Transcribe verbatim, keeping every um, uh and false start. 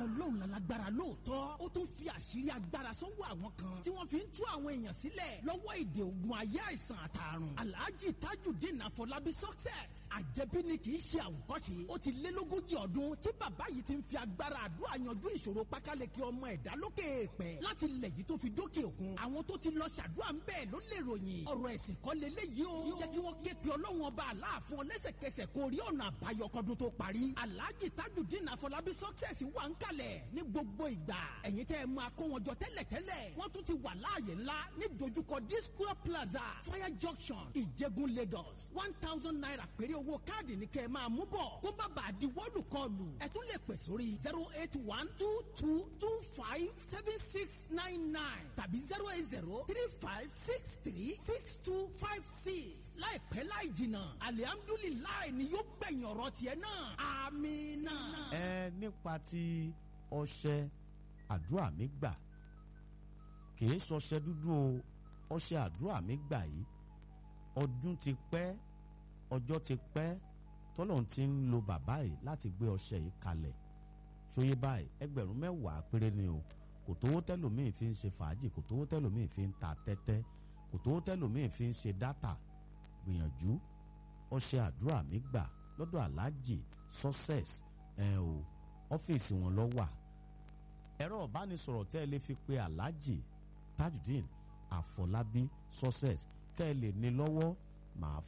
Ọlọ́run lálágbára lóòótọ́, ó tún fi àṣírí agbára sọ́wọ́ àwọn kan tí wọ́n fi ń tú àwọn èèyàn sílẹ̀ lọ́wọ́ ìdè ogun ayé, àìsàn àtàrùn. Alhaji Tajudeen Afọlábí Success, àjẹbí ni kì í ṣe àwòkọ́ṣe. Ó ti lé lógójì ọdún tí bàbá yìí ti ń fi agbára àdúrà yanjú ìṣòro pákáleke ọmọ ẹ̀dá lókè èèpẹ̀, láti ilẹ̀ yìí tó fi dókè òkun. Àwọn tó ti lọ ṣàdúrà ń bẹ́ẹ̀ ló lè ròyìn. Ọ̀rọ̀ ẹ̀sìn kọ́ leléyìí o. Jẹ́ kí wọ́n ké pe Ọlọ́run Ọba Aláàfin ọ lẹ́sẹ̀kẹsẹ̀ kó rí ọ̀nà àbáyọ kọ́dún tó parí. Alhaji Tajudeen Afọlábí Success wà ń kalẹ̀ ní gbogbo ìgbà. Ẹ̀yin tẹ́ ẹ máa kó wọn jọ tẹ́lẹ̀tẹ́lẹ̀, wọ́n tún ti wà láàyè ńlá ní dojúkọ Disco Plaza, Fire Junction, Ìjẹ̀gùn, Lagos. One thousand naira péré owó káàdì ní kẹ́ ẹ máa mú bọ̀, kó má bàa di wọ́lùkọlù. Ẹ tún lè pè sórí zero eight one two two two five seven six nine nine tàbí zero eight zero three five six three six two five six. Láìpẹ́ láì jìnnà, alihamdulilayi ni yóò gbẹ̀yìn ọ̀rọ̀ tiẹ̀ náà. Amina. Ẹ nípa ti ọṣẹ àdúrà mi gbà, kìí sọṣẹ dúdú o. Ọṣẹ àdúrà mi gbà yìí, ọdún ti pẹ́, ọjọ́ ti pẹ́ tọ́lọ́run ti ń lo bàbá yìí láti gbé ọṣẹ yìí kalẹ̀. Ṣòye báyìí, ẹgbẹ̀rún mẹ́wàá péré ni o. Kò tówó tẹ́lòmíì fi ń ṣe fàájì, kò tówó tẹ́lòmíì fi ń ta tẹ́tẹ́, kò tówó tẹ́lòmíì fi ń ṣe dátà. Gbìyànjú ọṣẹ àdúrà mi gbà lọ́dọ̀ Aláàjì Success. Ẹ o, ọ́fíìsì wọn lọ wà. Ẹ̀rọ ìbánisọ̀rọ̀ tẹ́ ẹ lè fi pe Aláàjì Tajudeen Àfọlábí Success kẹ́ ẹ lè ní lọ́wọ́, màá